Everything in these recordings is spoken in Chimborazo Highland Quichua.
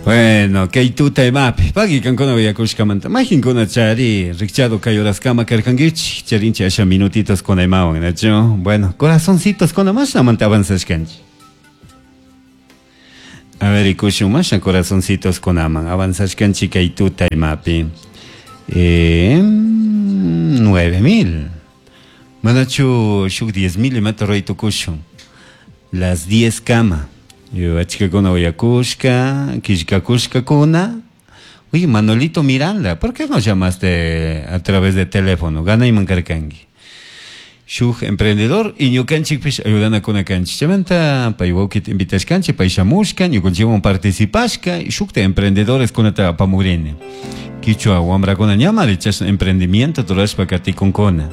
Bueno, kay tuta imapi, pagui kankuna uyakushkamanta, majinkuna chari, rikchado kay horaskama karkankichik, charinchi asha minutitos kuna imawan, nachu? Bueno, corazoncitos kuna mashnamanta avanzashkanchik. A ver, rikushun mashna corazoncitos kunaman avanzashkanchik kay tuta imapi. 9000. Manachu shuk 10,000 imata ruray tukushun. Las 10 kama. Achkakuna uyakushka, killkakushkakuna. Uy, Manolito Miranda, ¿por qué no llamaste a través de teléfono? Ganayman karkanki. Shuk emprendedor y ñukanchikpish ayudanakuna kanchik. Chaymanta pay wawkita invitashkanchik, pay shamushka, ñukanchikwan participashka, y shukta emprendedores kunata apamugrini. Kichwa wamrakuna ñamari chashna emprendimiento rurashpa katikunkuna.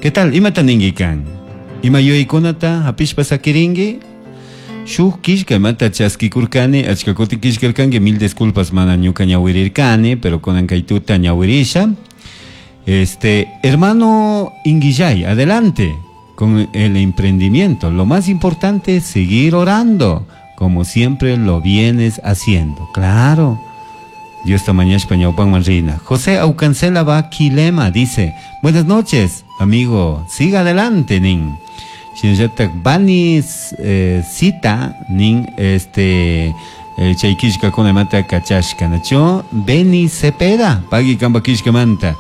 ¿Qué tal? Imata ninki kan? Ima yuyaykunata hapishpa sakirinki? Shuk killka imata chaskikurkani, achka kutin killkarkanki, mil disculpas mana ñuka ñawirirkani, pero kunan kay tuta ñawirisha. Hermano Inguillay, adelante con el emprendimiento. Lo más importante es seguir orando, como siempre lo vienes haciendo. Claro. Dios tamañashpa ñawpanman rina. José Aucancela va Quilema, dice, buenas noches, amigo, siga adelante, nin. Shinallatak Banis Cita, nin, chay killkakuna imata kachashka, nacho? Beni Cepeda, pagui kamba killkamanta.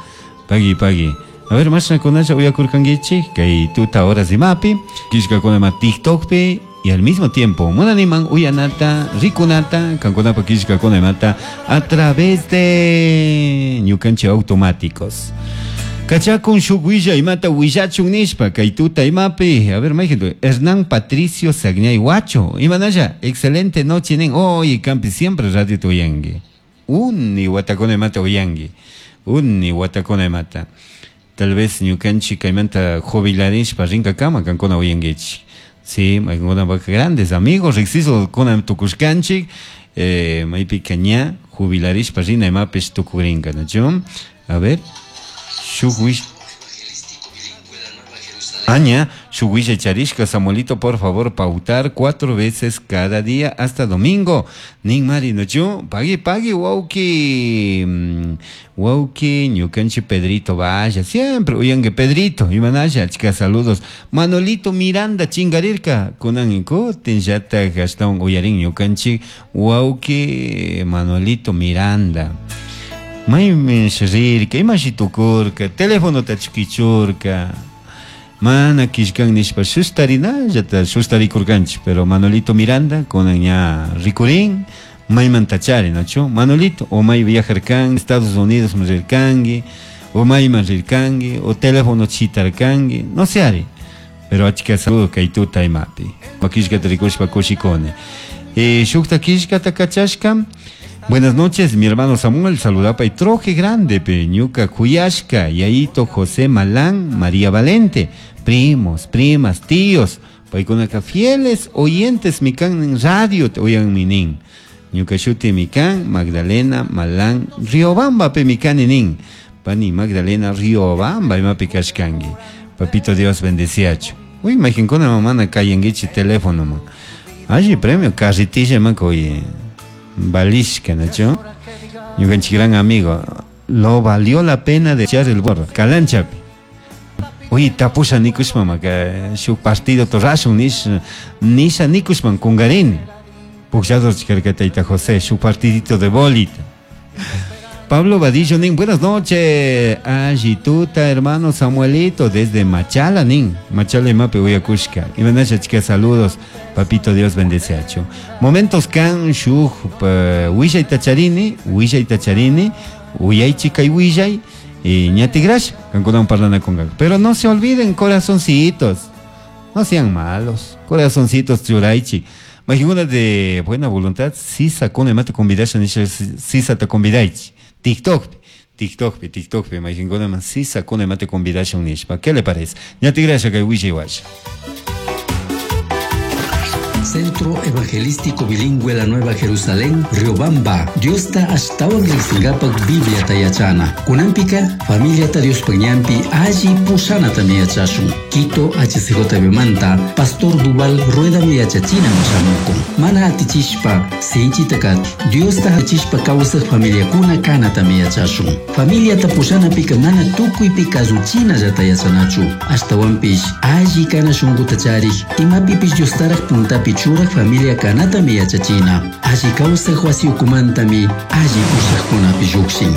Pagui, pagui. A ver, mashna kunasha uyakurkankichik, kay tuta horas imapi, killkakuna ima TikTokpi, y al mismo tiempo, munaniman uyanata, rikunata, kankunapa killkakuna imata, a través de ñukanchik automáticos. Kachakun shuk willa imata willachun nishpa, kay tuta imapi. A ver, mayjintu, Hernán Patricio Sagñay Huacho. Imanalla, excelente noche, nin. Oye, campi, siempre radio te uyangi. Uni watakuna imata uyangi. Uni watakuna imata. Tal vez ñukanchik kaymanta jubilarishpa rinkakama kankuna uyangichik. Sí, maykuna grandes amigos, riksiso kuna tukushkanchik, maypika ña jubilarishpa rina imapish tukurinka, ¿no? A ver, shuk wish. Aña, shuk willa charishka, Samuelito, por favor, pautar 4 veces cada día hasta domingo. Nin mari, ¿no? Yo, pagui, pagui, wauki, wauki, ñukanchi Pedrito, vaya, siempre, uyangue Pedrito, imanaya, chica, saludos. Manolito Miranda, chingarirka, kunan ikutin, yata, gastón, uyarin, ñukanchi, wauki, Manolito Miranda. Maymi rirka, imashi tukurka, teléfono tachikichurka. Mana kishkan nishpa sustarinallata sustarikurkanchik, pero Manolito Miranda kunan ña rikurin, mayman tachari, nachu? Manolito, o may viajarkan, Estados Unidos rirkanki, o mayman rirkanki, o teléfono chitarkanki, no sé ari, pero achka saludo kay tuta imapi. Kishkata rikushpa kushikuni. Shukta kishkata kachashka. Buenas noches, mi hermano Samuel, saludapa y troje grande, peñuca, Cuyashka, Yaito, José Malán, María Valente, primos, primas, tíos, paikunaka fieles oyentes, mikan en radio, te oyan minin. Ñuka shuti mikan, Magdalena Malán, Riobamba, pe mikan inin. Pani Magdalena Riobamba, imapi kashkangi. Papito Dios bendeciacho. Uy, imaginkuna mamana kayangichi teléfono, man. Allí premio, carritilla, man, oye. Balishka, ¿no? Ñukanchik gran amigo. Lo valió la pena de echar el borro. Calanchapi. Oye, tapusha nikushma, ma, que shuk partido torrashun, nish, nisha nikushman, kungarini. Pukllado chikarka tayta José, shuk partidito de bolita. Pablo Vadillo, nin, buenas noches. Ayituta, hermano Samuelito, desde Machala, nin. Machala y Mape, Uyakushka. Y manasha, chica, saludos. Papito, Dios bendice acho. Momentos kan, shuj, pa, huillay tacharini, huillay tacharini, huyay chica y huillay, y ñatigrash, kankunan parlana con gan. Pero no se olviden, corazoncitos. No sean malos. Corazoncitos, churaichi. Imagina de buena voluntad, sisa con el mate convidasha, nisha, sisa te convidaichi. TikTok, TikTok, TikTok, imagina más sisa con el mate convidasha un nishpa. ¿Qué le parece? Ñatigrash, que huillay washa. Centro Evangelístico Bilingüe La Nueva Jerusalén, Riobamba, Diosta ashtawan riqsingapak Bibliata yachana. Kunanpika, familiata Diospaj ñanpi alli pushanatami yachashun. Quito HCJB manta, Pastor Duval Ruedami yachachina shamukun. Mana atichishpa, sinchita kati. Diosta achishpa kawsaj familiakuna kanatami yachashun. Familiata pushanapika mana tukuypi kazuchinallata yachanachu. Ashtawanpish alli kana shunkuta charik, imapipish Diostaraj puntapi churaj familia kanatami yachachina. Alli kawsaj wasi ukumantami alli pushajkunapi llukshin.